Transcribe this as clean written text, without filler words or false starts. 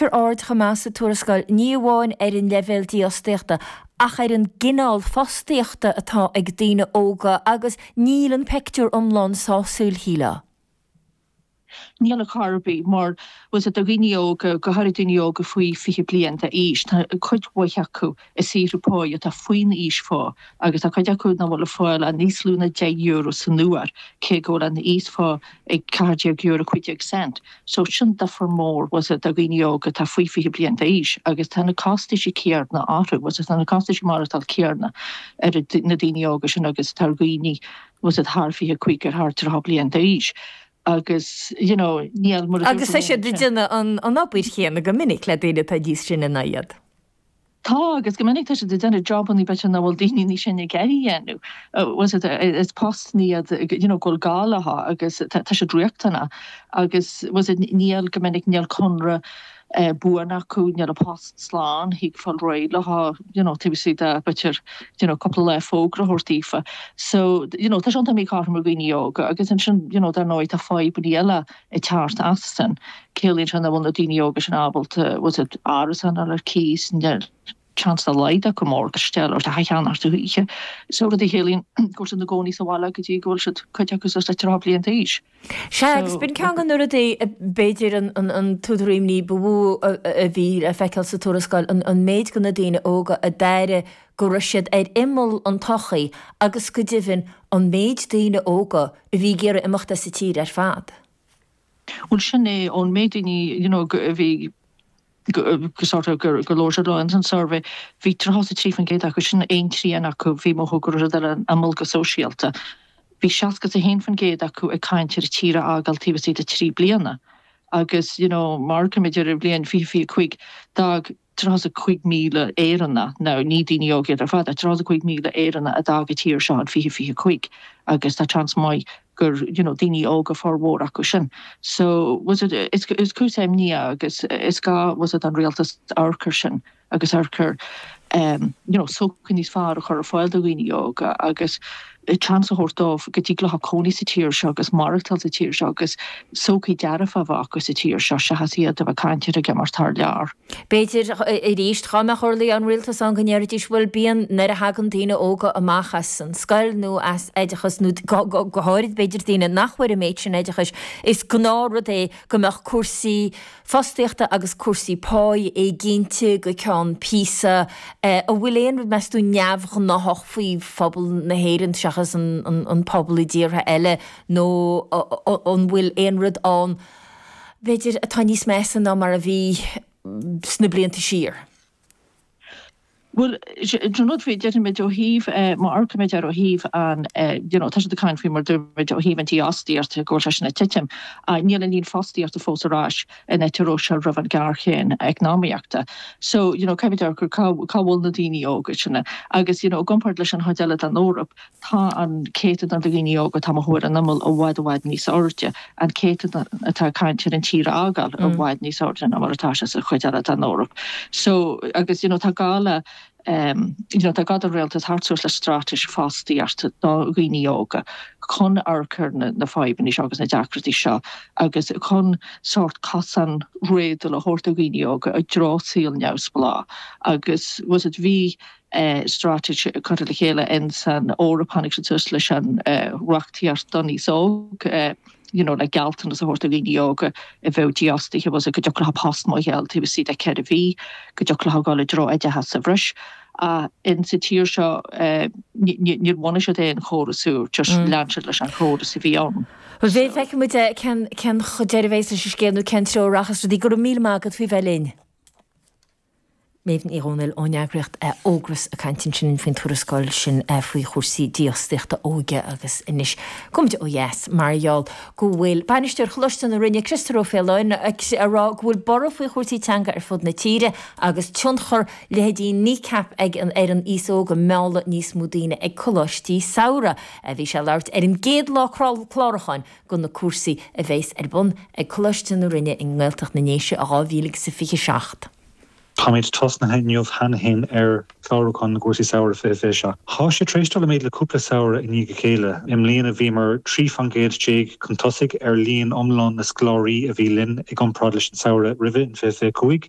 Tarraingítear aird chomh maith sa tuarascáil ní amháin ar an leibhéal dífhostaíochta ach ar an gcineál fostaíochta atá ag daoine óga agus níl an peictiúr iomlán sásúil, shílfeá. Níl ar chor ar bith, mar bhfuil 's a'd do dhaoine óga, go háirid daoine óga faoi 20 bliain d'aois, tá cuid mhaith acu ag saothrú páí atá faoin íosphá agus tá cuid acu nach bhfuil ag fáil ach níos lú ná €10 san uair, cé go bhfuil an íosphá ag €14 15 cent. So sin difear mór, bhfuil 's a'd, do dhaoine óga atá faoi 20 bliain d'aois agus tá na costaisí céarna orthu, bhfuil 's a'd, tá na costaisí maireachtáil céarna ar na daoine óga sin agus atá ar dhaoine bhfuil 's a'd thar 25 ar thar 30 bliain d'aois agus you know níl mar a dúirt Agus tá siad ag déanamh an obair chéanna go minic le daoine atá níos sine ná iad. Tá, agus go minic tá siad ag déanamh jobannaí b'fhéidir nach bhfuil daoine níos sine ag iarraidh a dhéanamh. Bhfuil 's a'd is postanna iad you know go bhfuil gá leo agus tá siad riachtanach agus bhfuil 's a'd níl go minic níl conradh buan acu, níl a bpost slán, thig fáil réidh leo, you know, taobh istigh de, b'fhéidir, you know, cúpla lá fógra a thabhairt daofa. So, you know, tá sé iontach míchothrom ar dhaoine óga agus ansin, you know, dar ndóigh tá fadhbanna eile ag teacht as sin. Ciallaíonn sé nach bhfuil na daoine óga sin ábalta, bhfuil 's a'd, árasán a fháil ar cíos, níl seans dá laghad acu morgáiste a fháil nó teach a cheannacht a choíche. So rud a chiallaíonn go bhfuil siad ina gcónaí sa bhaile go dtí go bhfuil siad, cuid acu, suas le 30 bliain d'aois. Sea, agus b'in ceann de na rudaí, b'fhéidir, an t-údar imní ba mhó a bhí le feiceáil sa tuarascáil, an méid de na daoine óga a d'airigh go raibh siad ar imeall an tsochaí agus go deimhin an méid daoine óga a bhí ag iarraidh imeacht as an tír ar fad. Bhuel, sin é, ón méid daoine, you know, a bhí go sort of gur labhair siad leo ins an suirbhé, bhí 33% acu, sin aon trian acu, bhí ag mothú go raibh siad ar an imeall go sóisialta. Bhí 61% acu ag caint ar an tír a fhágáil taobh istigh de 3 bliana. Agus, you know, má amharcaimid ar an bhliain 2025, d'fhág 35,000 Éireannach, now ní daoine óga iad ar fad, ach 35,000 Éireannach a d'fhág an tír seo in 2025 agus tá seans maith gur, you know, daoine óga formhór acu sin. So, bhfuil 's a'd, is, is cúis imní é agus is gá, bhfuil 's a'd, don rialtas amharc air sin agus amharc ar, you know, sochaí níos fearr a chur ar fáil do dhaoine óga agus seans a thabhairt dóibh go dtig leo cónaí sa tír seo agus maireachtáil sa tír seo agus sochaí dearfach a bheith acu sa tír seo seachas iad a bheith ag caint ar ag imeacht thar lear. B'fhéidir, arís, dhá mbeadh orlaí an rialtais ann go ndéarfaidís, bhuel, bíonn, nuair a thagann daoine óga amach as an scoil nó as oideachas, nó go háirid, b'fhéidir, daoine nach bhfuair an méid sin oideachais, is gnáthrud é go mbeadh cúrsaí fostaíochta agus cúrsaí páí éiginnte go ceann píosa. An bhfuil aon rud, meas tú, neamhghnáthach faoi phobal na hÉireann seachas an pobal i dtíortha eile nó an bhfuil aon rud ann, b'fhéidir, atá níos measa ná mar a bhí sna blianta siar? Bhuel, an rud faoi, déarfaimid ó thaobh, má amharcaimid air ó thaobh an, you know, tá siad ag caint faoi mar dúirt muid ó thaobh an dífhostaíochta go bhfuil sé sin ag titim, ach níl an líon fostaíochta fós ar ais in áit a raibh sé roimh an ghéarchéim eacnamaíochta. So, you know, caithfimid amharc ar cá, cá bhfuil na daoine óga sin agus, you know, i gcomparáid leis an chuid eile den Eoraip, Tá an céatadán de dhaoine óga atá ag mothú ar an imeall i bhfad i bhfad níos airde, an céatadán atá ag caint ar an tír a fhágáil i bhfad níos airde ná mar atá sé sa chuid eile den Eoraip. So, agus you know tá gá le em you know tá gá don rialtas theacht suas le straitéis fostaíochta do dhaoine óga chun amharc ar na na fadhbanna seo agus na deacrachtaí seo agus chun sórt cosán réadúil a thabhairt do dhaoine óga i dtreo saol neamhspleách agus bhfuil 's a'd bhí straitéis curtha le chéile in san Eoraip, tháinig siad suas leis an reachtaíocht don aos óg, you know le gealltanas a thabhairt do dhaoine óga a bheadh dífhostaithe, bhfuil 's a'd go dtiocfadh leo post maith a fháil taobh istigh de 4 mhí, go dtiocfadh leo dul i dtreo oideachas sa bhreis. Ach in sa tír seo níor bhunaigh siad aon chóras úr, just lean siad leis an chóras a bhí ann. Bhuel, feicfidh muid cén deireadh a bheas leis an scéal nó cén treo a rachas rudaí. Go raibh míle maith agat faoi bheith linn. Méabh Ní Dhomhnaill ón eagraíocht Ógras ag caint ansin faoin tuarascáil sin faoi chúrsaí dífhostaíochta óige agus anois gabhfaimid ó dheas mar gheall go bhfuil Bainisteoir Choláiste na Rinne, Criostóir Ó Faoláin, ag rá go bhfuil borradh faoi chúrsaí teanga ar fud na tíre agus tionchar leithéidí Kneecap ag an ar an aos óg ag mealladh níos mó daoine ag coláistí samhraidh. Bhí sé ag labhairt ar an gcéad lá clárúcháin do na cúrsaí a bheas ar bun ag Coláiste na Rinne i nGaeltacht na nDéise i 2027. Táimid tosnaithe inniu cheana féin ar chlárúchán na gcúrsaí samhraidh 2027. Tá sé tar éis dul i méid le cúpla samhradh i ndiaidh a chéile. I mbliana bhíomar 13 fan gcéad chun tosaigh ar líon iomlán na scoláirí a bhí linn i gcomparáid leis an samhradh roimhe in 2025.